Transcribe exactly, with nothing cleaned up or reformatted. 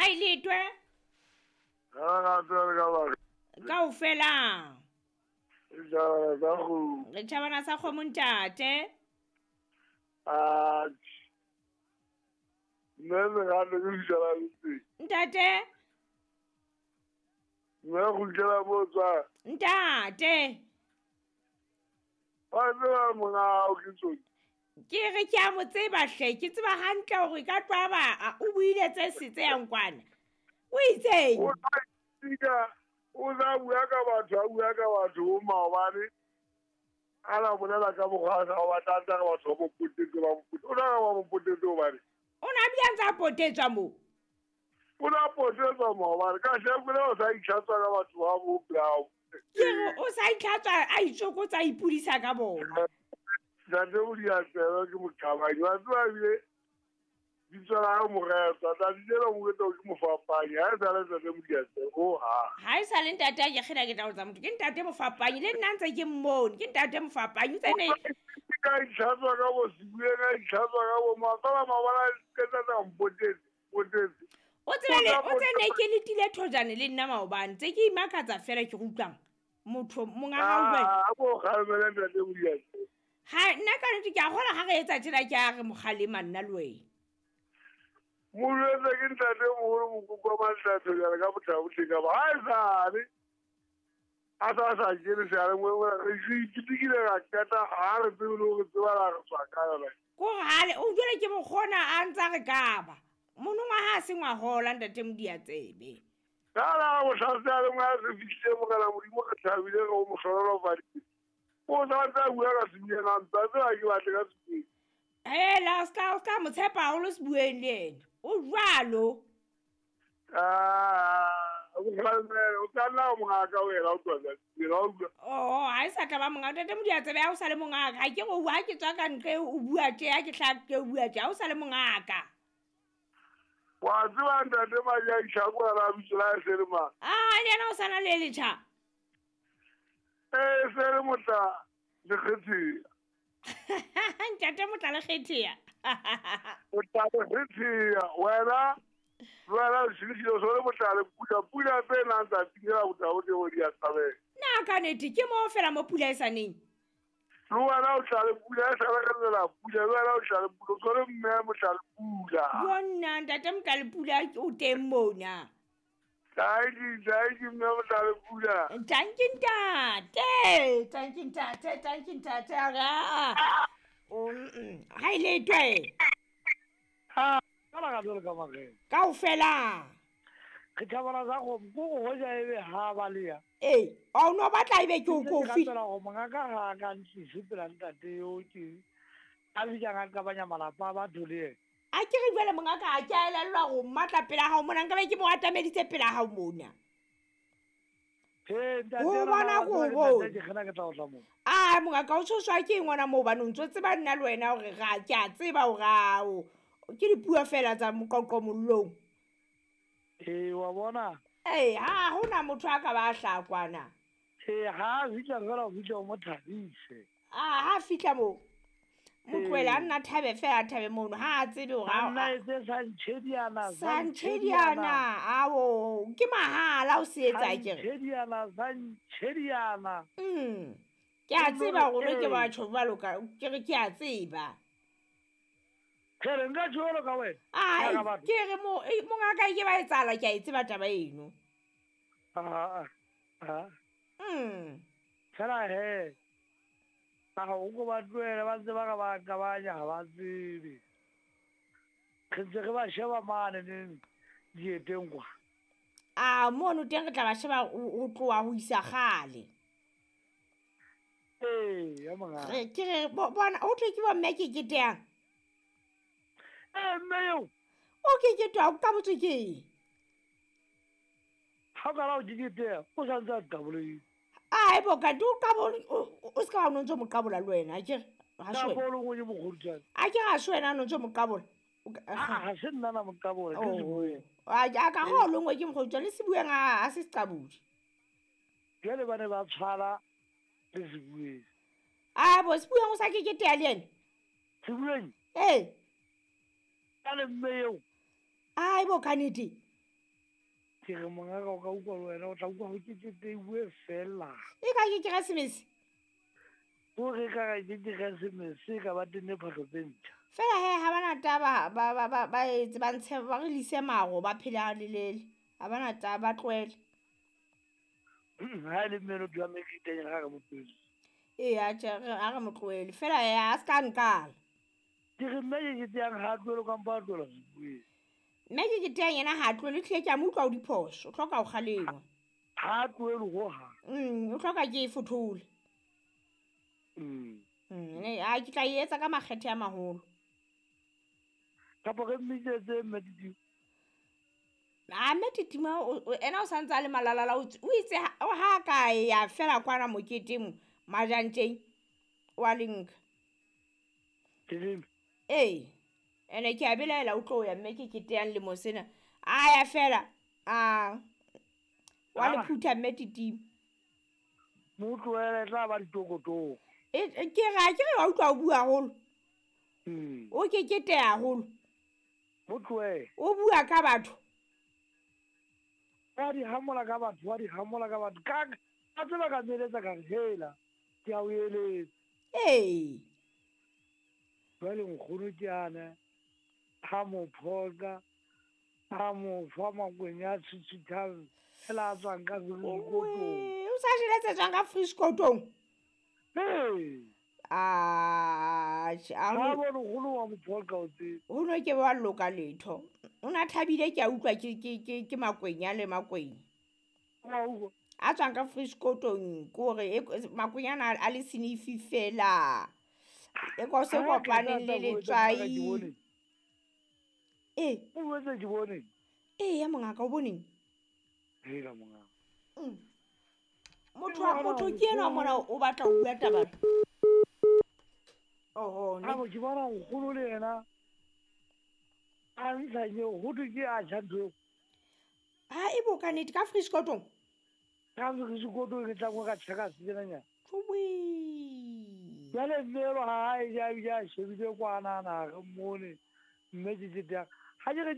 Ha ile twe. Ha ga tsere ka ba. Kaofela. Ja ga go. Re tjhabana sa kgomo ntate. Ah. Ne re ga le go le Ntate. Ne go tla botsa. Ntate. Wa tseba mona o ke tsotsi. Ke re ke a mo tseba hle, ke tseba hantle hore ka twaba o buile tse se tse yang kwana. O itseng? O tla o tla bua ka batho, a bua ka batho bo maobane. A la bolela ka mokgwa wa batla tla ka batho ba mo potetse ba mo potetse. O na ba mo potetse hobane. O na bile a ntse a potetswa moo. O na potetswa maobane ka shebile o sa itlhatswa ka batho ba bo brown. Ke re o sa itlhatswa a itsokotsa a ipudisa ka bona. Ntate o di a tseba ke moqabanyi wa tseba ebile bitso la hae Moretsa tsatsi lena o mo etsa ke mofapanyi ha e sale ntate Modiatsebe ho hang. Ha e sale ntate a ke kgena ke tla ho tsa motho ke ntate mofapanyi le nna ntse ke mmone ke ntate mofapanyi o tsene ka itlhatswa ka bo Sebueng ka itlhatswa ka bo mang fela maobane a qeta a mpotetse potetse. O tsebe o tsene ke letile thojane le nna maobane tse ke imakatsa fela ke utlwang motho monga hao jwale. A bo kgalemele ntate Modiatsebe. Ha nna ka nnete ke a kgola ha re etsa tjena ke a re mokgalema nna le wena. Molwetse ke ntate moholo mokoko wa Manhlatho jwale ka botlhabotlhe ka ba ha e sale a sa sa kene seyalemoyeng re iketekile ra qeta ha re tsebe le hore tseba la re tswa ka yona. Ko re hale o jwale ke mokgona a ntsa re kaba. Monongwaha ha se ngwahola ntate Modiatsebe. Ka la bohla seyalemoya se fihlile Morena Modimo re thabile re o mo hlohonolofaditse. O sa ntse a bua ka Sebueng a ntse a tseba ke batle ka Sebueng. Hela o ska o ska mo tshepa haholo Sebueng le yena. O jwalo. Ah, o kgalemele o ka nna mongaka wena o tloha Sebueng ha o utlwa. Oh, ha e sa tla ba mongaka ntate Modiatsebe ha o sa le mongaka. Ha ke re o ha ke tswa ka ntle o bua tje ha ke hlaha ke o bua tje ha o sa le mongaka. Wa tseba ntate Majaisha ko ra bitso la se le mang. Ah, le yena o sana le letjha. Eh, se le motla le kgethea. Ntate motla le kgethea. Motla le kgethea wena wena o shebile so le motla le pula pula tse nang tsa tingela botla o teng di a tshabela. Na ka nete ke mo fela mo pula e sa neng. Le wena o tla le pula e sa re pula le wena o tla le pula so le mme motla le pula. Bona ntate motla le pula o teng mona. Tanki, tanki mme motla le pula. Tanki ntate, tanki ntate, tanki ntate ara. O ha ile twe. Ha, ka la ga ka mageng. Kaofela. Re thabana sa go go hoja ebe ha ba le ya. Eh, o no batla ebe ke o kofi. Ke go mongaka ga ka ntlise pela ntate yo ke a bitsa nga ka banya malapa ba dole. A ke re jwale mongaka ha ke a elellwa go mmatla pela hao mona nka be ke mo atameditse pela hao mona. He ntate O bona go bona. Ke kgena ke tla o tla mo. Ah mongaka o tshoswa ke eng ngwana moo hobane o ntso tseba nna le wena hore ga ke a tseba hore ao ke dipuo fela tsa moqoqo mollong. Eh wa bona? Eh ha hona motho a ka ba hlakwana. Eh ha fihla fela o fihla o mo thabise. Ah ha fihla mo. Motloela a nna thabe fela thabe mono ha a tsebe hore a nna etse sa ntshediana sa ntshediana awo ke mahala o se etsa ke re ntshediana sa ntshediana mm ke a tseba hore ke batho jwalo ka ke re ke a tseba ke re nka jwalo ka wena ai ke re mo mongaka ke ba etsala ke a e tseba taba eno ah ah mm fela he a go go ba tloela ba ntse ba ka ba kabanya ha ba tsebe re ntse re ba sheba mane neng dieteng kwa a mono teng re tla ba sheba o tloha ho isa kgale ee ya monga re ke re bona o tle ke bo mme ke keteang ee mme yo o ke ketwa o ka botse ke eng ha o ka la o ketea o sa ntse a qabolehile. Ai bo ka du ka bo o ska o ntse mo qabola le wena a ke ha se wena a ke ha se wena no ntse mo qabola ha se nna na mo qabola ke Sebueng a ka go longwe ke mokgotsa le Sebueng a se seqabodi jwale ba ne ba tshwara le Sebueng a bo Sebueng o sa ke ketea le ene Sebueng ee ka le mme eo ai bo ka nete Ke re mongaka o ka utlwa le wena o tla utlwa ho keketeiwe fela. E ka ke keresemese. O re ka re ke keresemese ka ba tenne phahlo tse ntjha. Fela he ha bana taba ba ba ba ba etse ba ntshe ba re lise maro ba phele ha lelele. Ha bana taba ba tlohele. Ha e le mme no dula meketeng ha re mo tlohele. Ee, atjhe re ha re mo tlohele. Fela he a se ka nkala. Ke re mme ke keteyang ha a tlohele kampo a tlohela sebueng. Mme ke keteyang yena ha a tlohele hlile ke a mo utlwa o diphoso. O hloka ho kgalengwa. Ha a tlohele hohang. Mm, o hloka ke e fothole. Mm. Mm, a ke tla e etsa ka makgethe a maholo. Kapa re mmitsetse mme Titima. A mme Titima ena o santse a le malalala o itse ha ka ya fela kwana moketeng majantjeng wa le nka. Ke Ee. Ene ke a belaela o tlo ya mme ke keteyang lemo sena. A ya fela a wa le phutha mme Titima. Mo tlohele tla ba ditokotoko. E ke ra ke re wa utlwa o bua haholo. Mm. O ke keteya haholo. Mo tlohele. O bua ka batho. Wa di hamola ka batho, wa di hamola ka batho. Ka ka tseba ka meletsa ka re hela. Ke a o eletsa. Ee. Jwale nkgono ke ane ha mo phoqa, ha mo fa makwenya a tshitshithang fela a tswang ka frikotong. O sa jele tse tswang ka frikotong? Ee. Ah, Ha bone nkgono wa mo phoqa o tsebe. Ho no ke wa loka letho. O na thabile ke a utlwa ke ke ke ke makwenya le makwenya. Wa utlwa. A tswang ka frikotong ke hore makwenya ana a le senifi fela. E ko se kopaneng le letswai. Ee. O boetse ke bone. Ee ya mongaka o boneng? Hela mongaka. Mm. Motho wa motho ke enwa mona o batla ho bua taba. Oho, ne. Ha ke bona nkgono le yena a ntsha nyeo ho thwe ke a tjha ntho. Ha e bo ka nnete ka frikotong? Ka frikotong ke tla ka tjheka senyenyana. Tjowe. Jwale mme elo ha a e ja ebile a shebile kwana na re mmone mme ke keteyang. Ha ke re